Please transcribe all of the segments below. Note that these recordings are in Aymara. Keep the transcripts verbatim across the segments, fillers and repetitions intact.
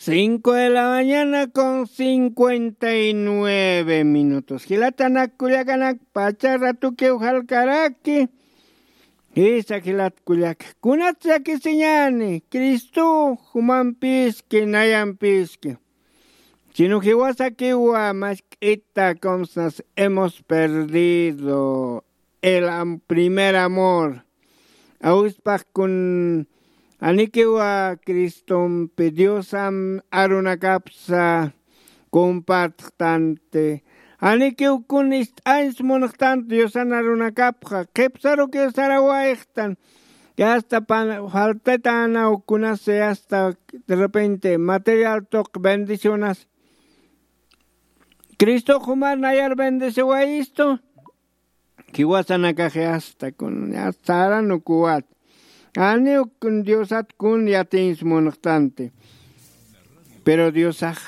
Cinco de la mañana con cincuenta y nueve minutos. Jilatanak kullakanak, pacha ratukiw jalkaraki. Jisa jilat kullaka, kunats llakisiñani, Cristo jumampiski, nayampiski. Sino jiwasakiwa mask'ita, comsnas, hemos perdido el am-, primer amor. Awispax kun, janikiwa Cristompi Diosan arunakapsa compartxtanti. Janikiw kun ist'añs munxtanti Diosan arunakapxa, qhipsarukiw sarawayxtan. Ya hasta pan-, faltatanaw kunasa, ya hasta de repente material tuq bendicionas. Cristo jumar nayar bendiciwayistu. Jiwasanakax ya hasta kun, ya hasta saran ukuwat. Janiw kun Diosat kun yatiñs munxtanti. Pero Diosax,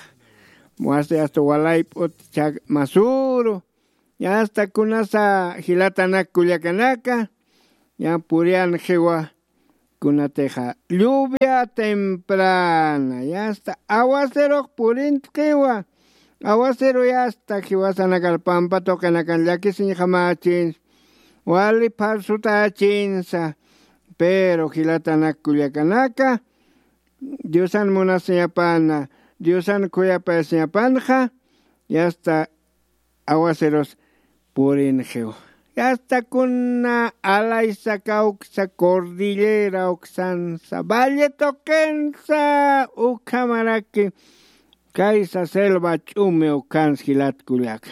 wasi hasta walayp'ut chak masuru. Ya hasta kunasa jilatanak kullakanaka, ya puriyanxiwa, kunatixa lluvia temprana, ya hasta aguacerux purintxiwa. Aguacero ya hasta jiwasanakar pampa tuqinakan llakisiñjamächinsa, wali pharsutächinsa. Pero jilatanak kullakanaka, Diosan munasiñapana, Diosan khuyapayasiñapanxa, ya hasta aguaceros purinxiw. Ya hasta kuna alaysa kawksa, cordillera uksansa, valle tuqinsa, ukhamaraki kaysa selva ch'umi ukhansa jilat kullaka.